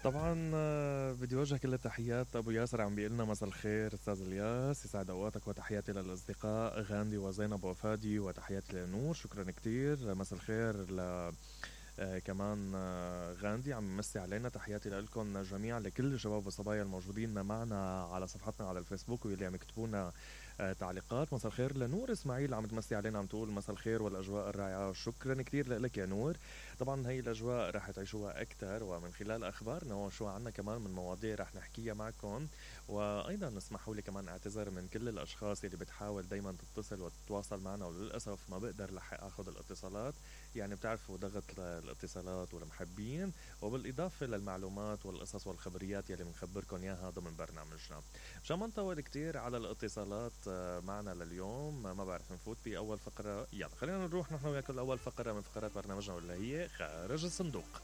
طبعا بدي وجه كل التحيات. ابو ياسر عم بيقلنا مساء الخير استاذ الياس، يسعد اوقاتك، وتحياتي للاصدقاء غاندي وزينب وفادي، وتحياتي لنور. شكرا كتير. مساء الخير ل كمان غاندي عم يمسي علينا. تحياتي لكم جميعا، لكل الشباب والصبايا الموجودين معنا على صفحتنا على الفيسبوك واللي عم يكتبونا تعليقات. مساء الخير لنور اسماعيل عم تمسي علينا، عم تقول مساء الخير والاجواء الرائعه. شكرا كتير لك يا نور. طبعا هي الاجواء رح تعيشوها اكثر ومن خلال اخبارنا، وشو عنا كمان من مواضيع رح نحكيها معكم. وايضا اسمحوا لي كمان اعتذر من كل الاشخاص اللي بتحاول دايما تتصل وتتواصل معنا، وللاسف ما بقدر لحق اخذ الاتصالات. يعني بتعرفوا ضغط الاتصالات والمحبين، وبالاضافه للمعلومات والقصص والخبريات يلي بنخبركم اياها ضمن برنامجنا. مشان ما نطول كتير على الاتصالات معنا لليوم، ما بعرف نفوت باول فقره. يلا خلينا نروح نحن وياكم لاول فقره من فقرات برنامجنا، واللي هي خارج الصندوق.